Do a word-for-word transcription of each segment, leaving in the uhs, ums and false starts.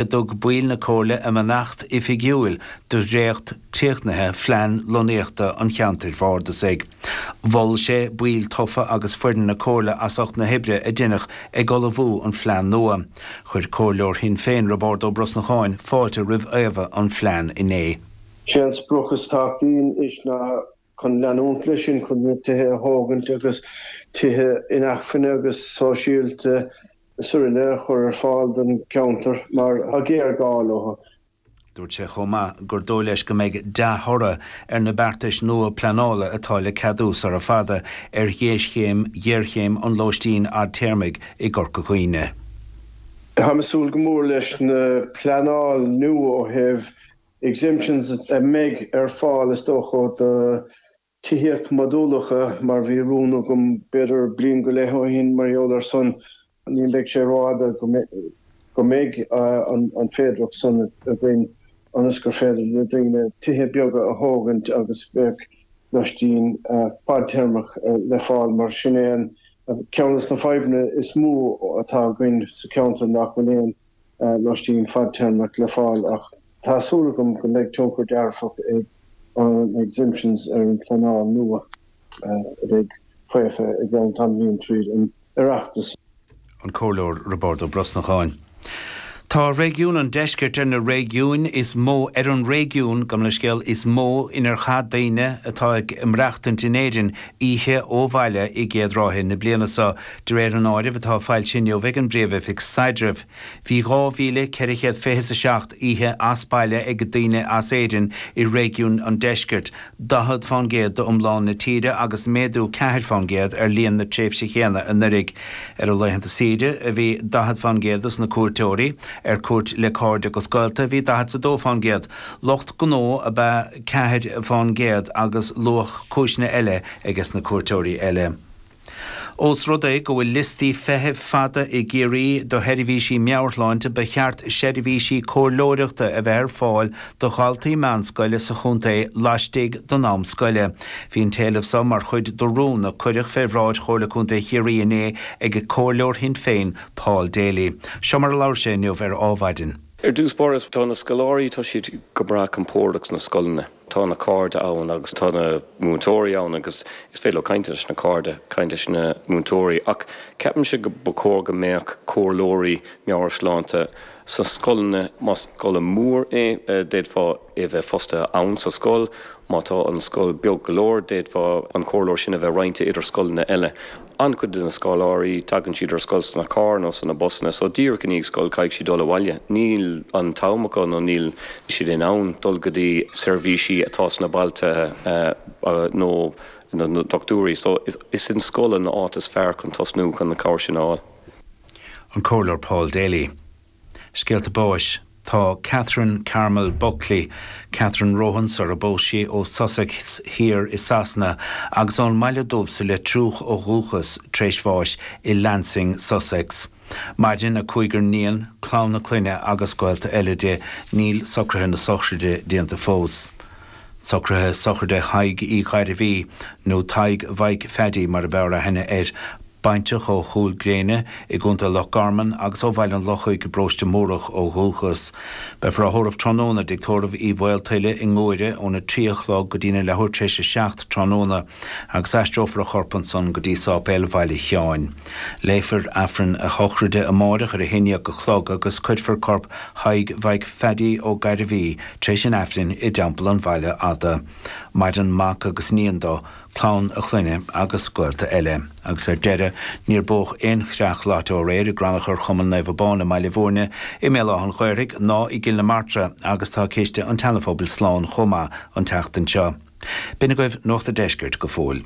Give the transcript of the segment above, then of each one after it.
a dtug baill na Comhairle a mbeannacht oifigiúil do dhréacht críochnaithe phlean lonnaíochta an cheantair bhardasaigh. Mhol sé baill tofa agus foireann na Comhairle as ucht na hoibre a deineadh ag ullmhú an phlean nua. Chuir Comhairleoir Shinn Féin Roibeárd Ó Brosnacháin fáilte roimh fhaomhadh an phlean inné. Sé an sprioc is tábhachtaí anois ná chun leanúint leis sin chun na tithe a thógaint agus tithe inacmhainne agus sóisialta is araile a chur ar fáil don cheantar mar tá géarghá leo. Dúirt sé chomh maith gur dóigh leis go mbeidh dea-thoradh ar na beartais nua pleanála atá le ceadú sara fada ar ghéarchéim ghéarchéim an lóistín fhadtéarmaigh i gCorca Dhuibhne. Táim ag súil go mór leis na pleanáil nua ó thaobh exemptions a mbeidh ar fáil is dócha do tithíocht modúlacha mar bhí rún agam b'fhéidir bliain go leith ó shin mar gheall ar san ní bheidh sé rófhada go mbeidh an féidearthacht san againn ionas gur féidir le daoine tithe beaga a thógaint agus bheadh loistín fadtéarmach le fáil mar sin é an ceann de na fadhbanna is mó atá againn sa cheantar nach bhfuil aon loistín fadtéarmach le fáil ach tá súil agam go mbeidh tionchar dearfach ag an exemptions ar an pleanáil nua a bheidh faofa i gceann tamaillín tríd an Oireachtas. An Comhairleoir Roibeárd Ó Brosnacháin. Tá réigiún an Deiscirt ar na réigiúin is mó ar an réigiún, gabh mo leithscéal, is mó inar chaith daoine atá ag maireachtaint in Éirinn oíche ó bhaile i gcéad ráithe na bliana seo, de réir an áirimh atá foilsithe inniu ag an bPríomh-Oifig Staidrimh. Bhí dhá mhíle ceithre chéad fiche is a seacht oíche as baile ag daoine as Éirinn i réigiún an Deiscirt, daichead fán gcéad d'iomlán na tíre agus méadú ceathair fán gcéad ar líon na tréimhse chéanna anuraidh. Ar a laethanta saoire a bhí daichead fán gcéad dos na cuairteoirí, ar cuairt le cairde agus gaolta a bhí daichead 's a dó fán gcéad, lucht gnó ab ea ceathair fán gcéad agus luadh cúiseanna eile ages na cuairteoirí eile. Ós rud é go bhfuil liostaí feithimh fada i gCiarraí do sheirbhísí meabhairshláinte, ba cheart seirbhísí comhairleoireachta a bheith ar fáil do dhaltaí meánscoile sa chontae laistigh den am scoile. Bhí an t-éileamh seo mar chuid de rún a cuireadh fé bhráid Chomhairle Contae Chiarraí inné ag Comhairleoir Shinn Féin, Paul Daly. Seo mar a labhair sé inniu ar Adhmhaidin. Ar dtús báire, tá na scoláirí, tá siad go breá compordach sna scoileanna. Tá na cairde ann agus tá na múinteoirí ann agus is féidir leo caint leis na cairde, caint leis na múinteoirí ach ceapaimse go ba chóir go mbeadh comhairleoirí meabhairshláinte sna scoileanna. Más scoil mhór é, d'fhéadfá é bheith fostaithe ann sa scoil. Má tá an scoil beag go leor, d'fhéadfá an comhairleoir sin a bheith roinnte idir scoileanna eile. An-chuid de na scoláirí, tagann siad ar scoil sna cairr nó sna busanna, so díreach i ndiaidh scoil caithfidh siad dul abhaile. Níl an t-am acu nó níl siad in ann dul go dtí seirbhísí atá sna bailte nó na dochtúirí. So is in scoil an áit is fearr chun tosnú chun na cabhair sin a fháil. An Comhairleoir Paul Daly. Scéalta báis. Tá Catherine Carmel Buckley, Catherine Rohan sar a bpós sí, ó Sussex Thiar i Sasana agus ón mBaile Dubh sa Leitriúch ó dhúchas, tar éis bháis i Lancing, Sussex. Maireann a cúigear níon, clann a clainne agus gaolta eile di. Níl socruithe na sochraide déanta fós. Socruithe sochraide Thaidhg Uí Ghairbhí, nó Tadhg Mhaidhc Pheaidí mar ab fhearr aithne air, bainteach ó Chúil Gréine i gContae Loch Garman agus ó Bhaile an Lochaigh i bparóiste Múrach ó dhúchas. Beifear á thórramh tráthnóna i dTigh Tórraimh Uí Mhaoltuile i nGuaire óna trí a chlog go dtína leathuair tar éis a seacht tráthnóna agus aistreofar a chorp ansan go dtí Sáipéal Bhaile Sheáin. Léifear Aifreann a shochraide amáireach ar a haon déag a chlog agus cuirfear corp Thaidhg Mhaidhc Pheaidí Ó Gairbhí tar éis an Aifrinn i dTeampall an Bhaile Fhada. Maireann mac agus níon dó, clann a chlainne agus gaolta eile. Agus ar deireadh, níor bódh aon chreach loite aréir i gcrannchur Chumann Naomh Abán i mBaile Bhúirne, i mBéal Átha an Ghaorthaidh ná i gCill na Martra agus tá ciste an tSeanaphobail slán chomh maith an tseachtain seo. B'in agaibh Nuacht a' Deiscirt go fóill.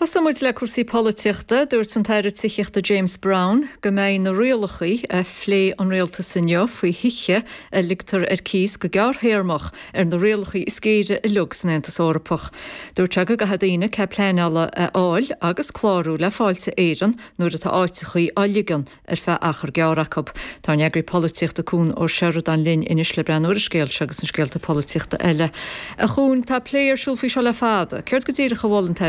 Tosóidh muid le cúrsaí polaitíochta dúirt an tAire Tithíochta James Browne go mbeidh na rialacha a phléigh an rialtas inniu faoi thithe a ligtear ar cíos go gearrthéarmach ar na rialacha is géire uilig san Aontas Eorpach. Dúirt sé go gcaithfidh daoine cead pleanála a fháil agus clárú le Fáilte Éireann nuair atá áiteacha á ligean ar feadh achar gearr acu. Tá an eagraí polaitíochta Cuan Ó Seireadáin linn anois le breathnú ar an scéal seo agus na scéalta polaitíochta eile. A Chuain tá plé ar siúl faoi seo le fada, Céard go díreach a mhol an